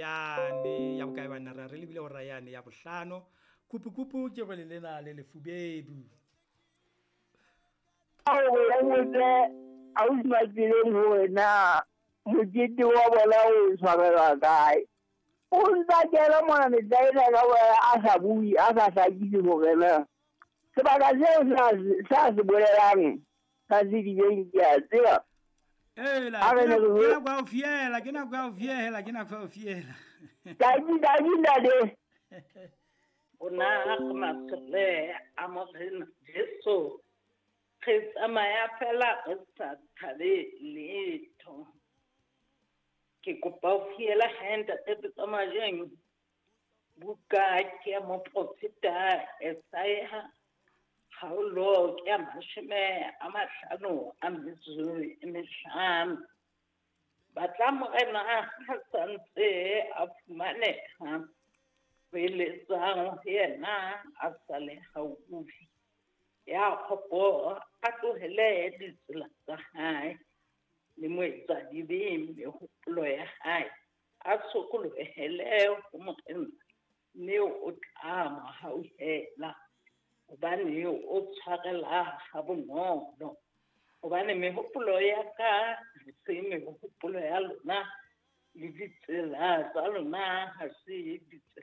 yane ya bokae banna, re lebile hora yane ya bohlano. Kupu-kupu ke rwele lena le lefubedu. Hore o botse ausi Matseleng hore na mokete wa bona o tshwarelwa kae. O ntsa kena mona metlaena ka boela a sa bue, a sa hlakise hore na sebaka seo sa se bolelang sa Sedibeng ke a tseba. Ela, ke nako ya ho fiela, ke nako ya ho fiela, ke nako ya ho fiela. Tadi, tadi, ntate. Rona re masole a Morena Jesu, re tsamaya fela re sa tshabe letho. Ke kopa ho fiela hae ntate Pitso Majeng, buka ke ya moprofeta Esaia, kgaolo ke ya 55. Batla Morena ha santse a fumaneha, beletsang ho yena a sa le haufi. Ya kgopo a tlohele ditsela tsa hae, le moetsadibe mehopolo ya hae, a sokolohele ho Morena, mme o tla mo hauhela, hobane o tshwarela ha bonolo. Hobane mehopolo ya ka ha se mehopolo ya lona, le ditsela tsa lona ha se ditsela.